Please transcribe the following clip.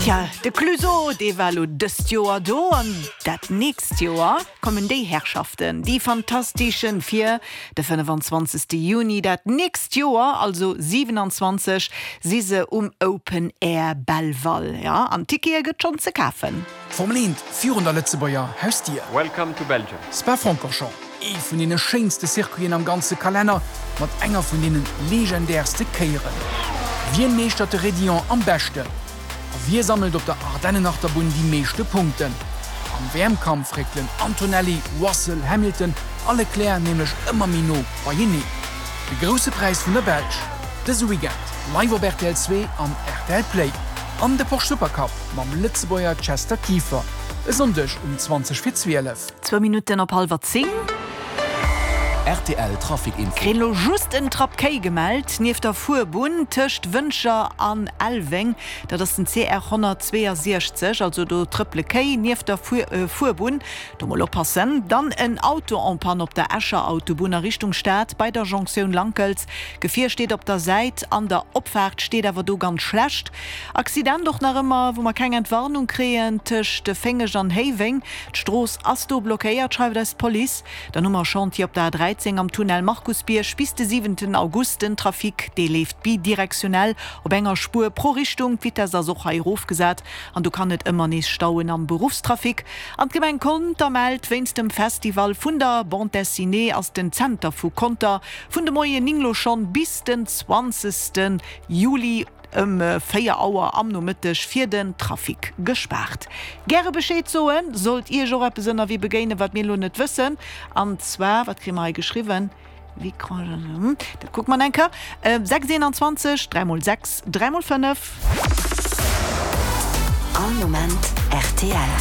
Tja, de Clueso, dee war elo dëst Joer do an dat nächst Joer kommen déi Herrschaften, déi Fantastischen, fir de 25. Juni dat nächst Joer, also 27, si se um Open Air Belval. Jo, an Tickete gëtt schonn ze kafen. D'Formel 1 virun der Lëtzebuerger Hausdier. Welcome to Belgium. Spa-Francorchamps, ee vun deene schéinste Circuiten am ganze Kalenner, mat enger vun deene legendärste Kéieren. Wien meeschtert de Raidillon am beschten? A wie sammelt op der Ardennenachterbunn déi meeschte Punkten? Am WM-Kampf réckelen Antonelli, Russell, Hamilton a Leclerc nämlech ëmmer méi no beieneen. De Grousse Präis vun der Belsch dëse Weekend live op rtl 2 an rtl Play. An de Porsche Supercup mam Lëtzebuerger Chester Kieffer e Sonndeg um 20 vir 12. Zwou Minutten op hallwer 10. Rtl Trafic Info. Kréien lo just en Trapp Kéi gemellt nieft der Fuerbunn tëscht Wëntger an Elweng. Dat ass den CR 162, also do trëppele Kéi nieft der Fuerbunn. Do mol oppassen. Dann en Auto en panne op der Escher Autobunn a Richtung Stad bei der Jonktioun Lankels. Gefier steet op der Säit an der Opfaart steet awer do ganz schlecht. Accident och nach ëmmer, wou mer keng Entwarnung kréien, tëscht Féngeg an Héiweng. D'Strooss ass do blockéiert, schreift eis d'Police. Dann hu mer e Chantier op der A13 am Tunnel Markusbierg bis de siwenten August. Den Trafic, dee leeft bidirektionell op enger Spuer pro Richtung. D'Vitess ass och hei erofgesat an do kann et ëmmer nees stauen am Beruffstrafic. An d'Gemeng Conter mellt, Wéinst dem Festival vun der Bande Dessinée ass den Zenter vu Conter vun de Moien 9 lo schonn bis den 20 Juli Ëm 4 Auer am Nomëtteg fir den Trafic gespaart. Gäre Bescheed soen, sollt Iech och eppes ënnerwee begéinen, wat mir elo net wëssen. An zwar, wat kréie mer hei geschriwwen? Dat kucke mer eng Kéier. 6 21 3 mol 6 3 mol 5. All Moment rtl.